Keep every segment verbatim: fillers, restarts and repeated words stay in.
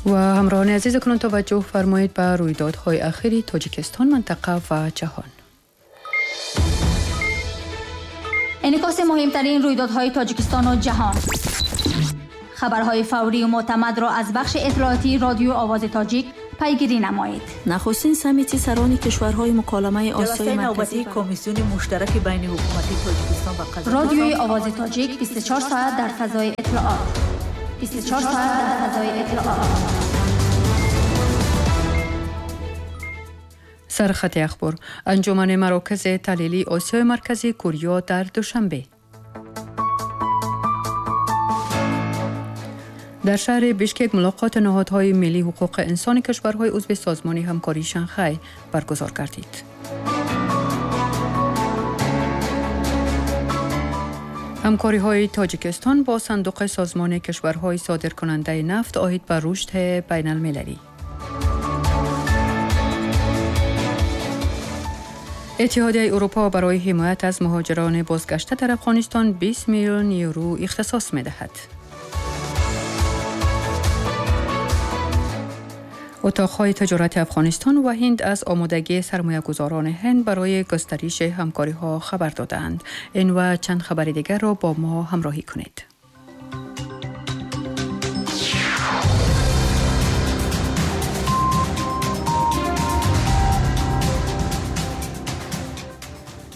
و همراهان عزیز، کنون توجه فرمایید به رویدادهای اخیر تاجیکستان، منطقه و جهان. انعکاس مهمترین رویدادهای تاجیکستان و جهان، خبرهای فوری و معتمد را از بخش اطلاعاتی رادیو آواز تاجیک پیگیری نمایید. نخستین سمیتی سران کشورهای مکالمه آسیای مرکزی، کمیسیون مشترک بین حکومتی تاجیکستان و قزاقستان. رادیوی آواز تاجیک بیست و چهار ساعت در فضای اطلاعات. بیست و چهار ساعت در فضای اطلاعات. سرخط اخبار: انجمن مراکز تحلیلی آسیای مرکزی کوریا در دوشنبه. در شهر بیشکک ملاقات نهادهای ملی حقوق انسان کشورهای عضو سازمان همکاری شانگهای برگزار گردید. همکاری‌های تاجیکستان با صندوق سازمان کشورهای صادرکننده نفت عاید به رشد بین المللی. اتحادیه اروپا برای حمایت از مهاجران بازگشته در افغانستان بیست میلیون یورو اختصاص می‌دهد. اتاق‌های تجارت افغانستان و هند از آمادگی سرمایه‌گذاران هند برای گسترش همکاری‌ها خبر دادند. این و چند خبر دیگر را با ما همراهی کنید.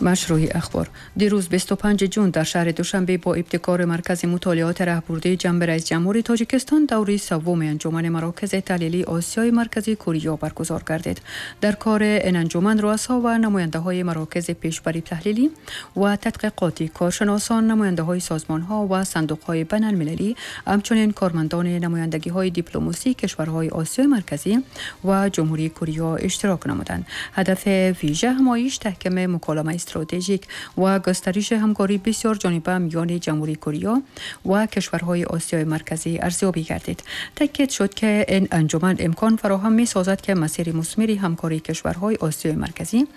مشروع اخبار: دیروز بیست و پنجم جون در شهر دوشنبه با ابتکار مرکز مطالعات راهبردی جنب رئیس جمهوری تاجیکستان دوره سوم انجمن مراکز تحلیلی آسیای مرکزی کوریا برگزار گردید. در کار این انجمن رؤسا و نماینده های مراکز پیشبری تحلیلی و تحقیقاتی، کارشناسان، نماینده های سازمان ها و صندوق های بین المللی، همچنین کارمندان نمایندگی های دیپلماسی کشورهای آسیای مرکزی و جمهوری کوریا اشتراک نمودند. هدف ویژه همایش تحکیم مکالمه استراتژیک و گسترش همکاری بسیار جانبه میان جمهوری کوریا و کشورهای آسیای مرکزی ارزیابی گردید. تاکید شد که این انجمن امکان فراهم می سازد که مسیر مثمر همکاری کشورهای آسیای مرکزی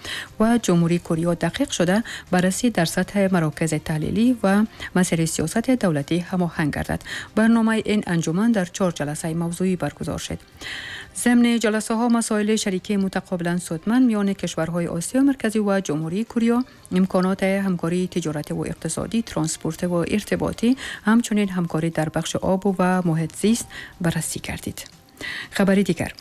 و جمهوری کوریا دقیق شده بررسی در سطح مراکز تحلیلی و مسیر سیاست دولتی هماهنگ گردد. برنامه این انجمن در چهار جلسه موضوعی برگزار شد. ضمن جلسه ها مسائل شریکی متقابلا سودمند میان کشورهای آسیا مرکزی و جمهوری کوریا، امکانات همکاری تجارت و اقتصادی، ترانسپورت و ارتباطی، همچنین همکاری در بخش آب و محیط زیست بررسی کردید. خبری دیگر: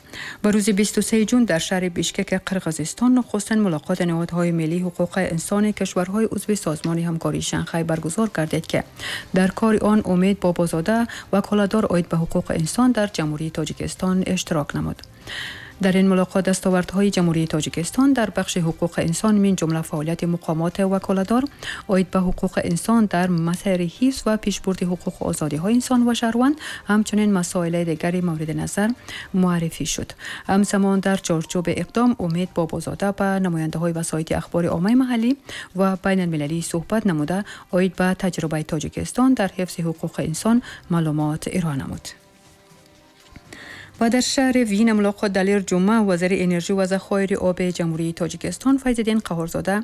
به روز بیست و سوم جون در شهر بیشکک قرقیزستان نخستین ملاقات نهادهای ملی حقوق انسان کشورهای عضو سازمان همکاری شانگهای برگزار گردید که در کار آن امید بابازاده وکالتدار عاید به حقوق انسان در جمهوری تاجیکستان اشتراک نمود. در این ملاقات دستاوردهای جمهوری تاجیکستان در بخش حقوق انسان من جمله فعالیت مقامات وکالتدار عاید به حقوق انسان در مسیر حفظ و پیشبرد حقوق آزادی‌های انسان و شهروند، همچنین مسائل دیگر مورد نظر معرفی شد. همزمان در چارچوب اقدام امید بابازاده به نماینده‌های وسایط اخبار عامه محلی و بین المللی صحبت نموده عاید به تجربه تاجیکستان در حفظ حقوق انسان معلومات ارائه نمود. و در شهر وین ملاقات دلیر جمعه وزیر انرژی و ذخایر آب جمهوری تاجیکستان فیض‌الدین قهارزاده،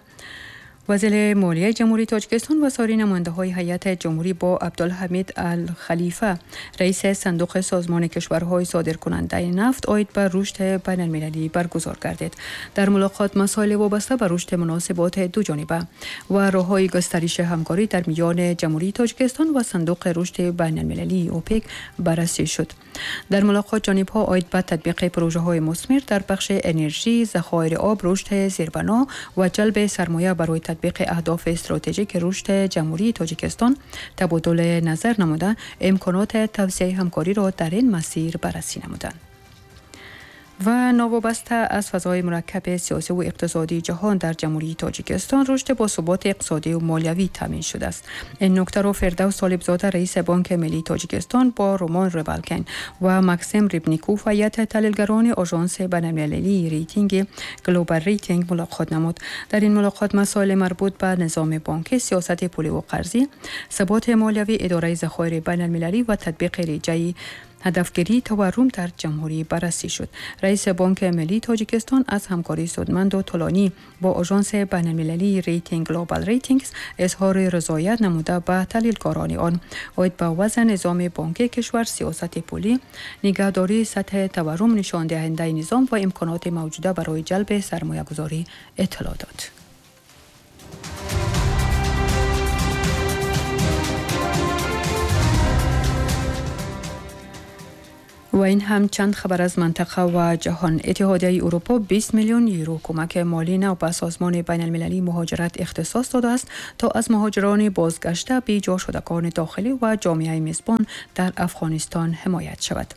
وزیر مالیه جمهوری تاجیکستان و سایر نماینده‌های هیئت جمهوری با عبدالحمید الخلیفه رئیس صندوق سازمان کشورهای صادرکننده نفت عاید به رشد بین المللی برگزار گردید. در ملاقات مسائل وابسته به رشد مناسبات دو جانبه و راه‌های گسترش همکاری در میان جمهوری تاجیکستان و صندوق رشد بین المللی اوپک بررسی شد. در ملاقات جانب‌ها عاید به تطبیق پروژه‌های مثمر در بخش انرژی، ذخایر آب، رشد زیربنا و جلب سرمایه برای تطبیق اهداف استراتژیک رشد جمهوری تاجیکستان تبادل نظر نموده امکانات توسعه همکاری را در این مسیر بررسی نمودند. و ناوابسته از فضای مرکب سیاسی و اقتصادی جهان در جمهوری تاجیکستان رشد با ثبات اقتصادی و مالیوی تامین شده است. این نکته را فردوس طالبزاده رئیس بانک ملی تاجیکستان با رومان ربالکن و مکسیم ریبنیکوف هیئت تحلیلگران آژانس بین‌المللی ریتینگ گلوبال ریتینگ ملاقات نمود. در این ملاقات مسائل مربوط به نظام بانکی، سیاست پولی و قرضی، ثبات مالیوی، اداره ذخایر بین‌المللی و تطبیق ریجه‌ای ҳадафгирии таваррум дар ҷумҳурӣ баррасӣ шуд. Раиси Бонки Миллии Тоҷикистон аз ҳамкории судманду тӯлонӣ бо Ожонси байналмилалии рейтинг Global Ratings изҳори ризоят намуда ба таҳлилкорони он оид ба вазъи низоми бонкии кишвар, сиёсати пулӣ, нигаҳдории сатҳи таваррум, нишондиҳандаи низом ва имконоти мавҷуда барои ҷалби сармоягузорӣ иттилоъ дод. و این هم چند خبر از منطقه و جهان. اتحادیه اروپا بیست میلیون یورو کمک مالی نو به سازمان بین المللی مهاجرت اختصاص داده است تا از مهاجران بازگشته بیجا شدگان داخلی و جامعه میزبان در افغانستان حمایت شود.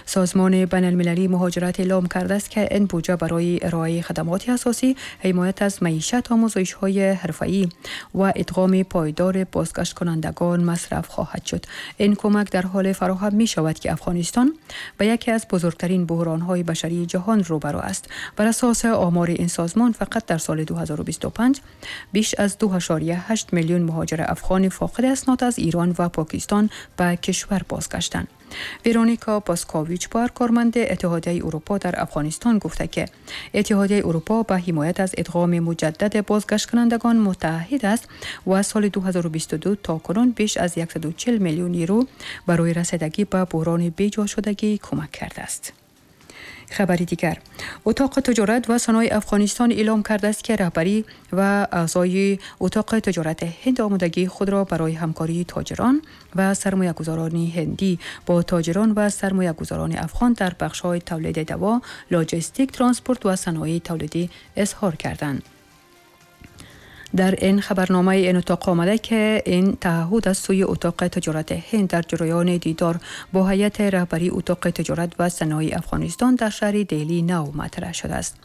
سازمان بین المللی مهاجرت اعلام کرده است که این بودجه برای ارائه خدمات اساسی، حمایت از معیشت، آموزش‌های حرفه‌ای و ادغام پایدار بازگشت کنندگان مصرف خواهد شد. این کمک در حال فراهم می شود که افغانستان به یکی از بزرگترین بحران‌های بشری جهان روبرو است. بر اساس آمار این سازمان فقط در سال دو هزار و بیست و پنج بیش از دو ممیز هشت میلیون مهاجر افغان فاقد اسناد از ایران و پاکستان به کشور بازگشتند. ورونیکا پاسکوویچ بار کارمند اتحادیه اروپا در افغانستان گفته که اتحادیه اروپا به حمایت از ادغام مجدد بازگشت کنندگان متعهد است و سال دو هزار و بیست و دو تا کنون بیش از صد و چهل میلیون یورو برای رسیدگی به بحران بیجا شدگی کمک کرده است. خبری دیگر، اتاق تجارت و صنایع افغانستان اعلام کرده است که رهبری و اعضای اتاق تجارت هند آمادگی خود را برای همکاری تاجران و سرمایه‌گذاران هندی با تاجران و سرمایه‌گذاران افغان در بخش‌های تولید دوا، لوجستیک، ترانسپورت و صنایع تولیدی اظهار کردند. در این خبرنامه این اتاق آمده که این تعهد از سوی اتاق تجارت هند در جریان دیدار با هیئت رهبری اتاق تجارت و صنایع افغانستان در شهر دهلی نو مطرح شده است.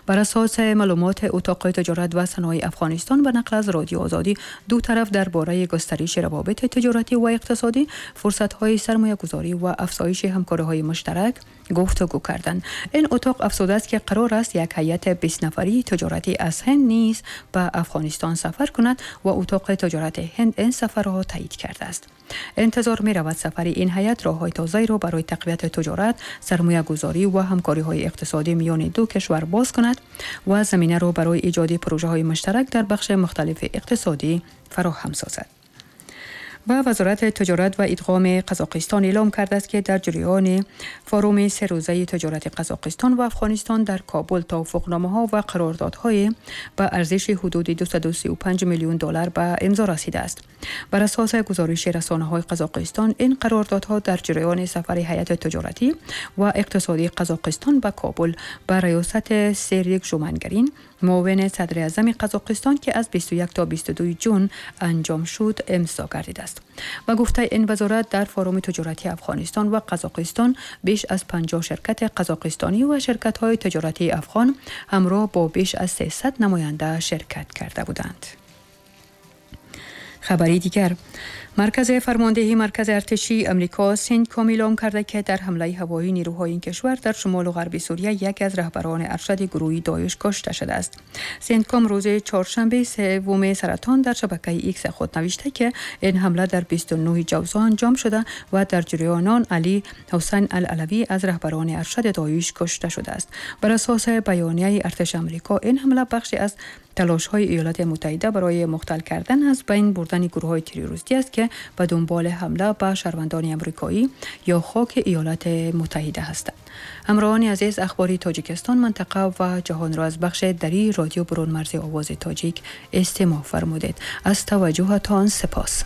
بر اساس معلومات اتاق تجارت و صنایع افغانستان به نقل از رادیو آزادی، دو طرف درباره گسترش روابط تجارتی و اقتصادی، فرصت‌های سرمایه‌گذاری و افزایش همکاری‌های مشترک گفتگو کردند. این اتاق افزوده است که قرار است یک هیئت بیست نفری تجارتی از هند نیز به افغانستان سفر کند و اتاق تجارت هند این سفر را تایید کرده است. انتظار می رود سفر این هیئت راه‌های تازه‌ای را برای تقویت تجارت، سرمایه‌گذاری و همکاری‌های اقتصادی میان دو کشور باز کند و زمینه را برای ایجاد پروژه‌های مشترک در بخش مختلف اقتصادی فراهم سازد. و وزارت تجارت و ادغام قزاقستان اعلام کرده است که در جریان فاروم سه روزه تجارت قزاقستان و افغانستان در کابل توافقنامه‌ها و قراردادهای به ارزش حدود دویست و سی و پنج میلیون دلار به امضا رسیده است. بر اساس گزارش رسانه‌های قزاقستان، این قراردادها در جریان سفر هیئت تجارتی و اقتصادی قزاقستان به کابل به ریاست سریک ژومانگرین، معاون صدر اعظم قزاقستان که از بیست و یک تا بیست و دو جون انجام شد، امضا گردیده است. و گفته این وزارت در فاروم تجارتی افغانستان و قزاقستان بیش از پنجاه شرکت قزاقستانی و شرکت‌های تجارتی افغان همراه با بیش از سیصد نماینده شرکت کرده بودند. خبری دیگر، مرکز فرماندهی مرکز ارتشی امریکا سنتکام اعلام کرده که در حمله هوایی نیروهای این کشور در شمال و غرب سوریه یکی از رهبران ارشد گروه داعش کشته شده است. سنتکام روز چهارشنبه سوم سرطان در شبکه ایکس خود نوشته که این حمله در بیست و نه جوزا انجام شده و در جریان آن علی حسین العلوی از رهبران ارشد داعش کشته شده است. بر اساس بیانیه ارتش امریکا، این حمله بخشی از تلاش‌های ایالات متحده برای مختل کردن از بین بردن گروه‌های تروریستی است که به دنبال حمله به شهروندان امریکایی یا خاک ایالات متحده هستند. همراهان عزیز، اخباری تاجیکستان، منطقه و جهان را از بخش دری رادیو برون مرز آواز تاجیک استماع فرمودید. از توجهتان سپاس.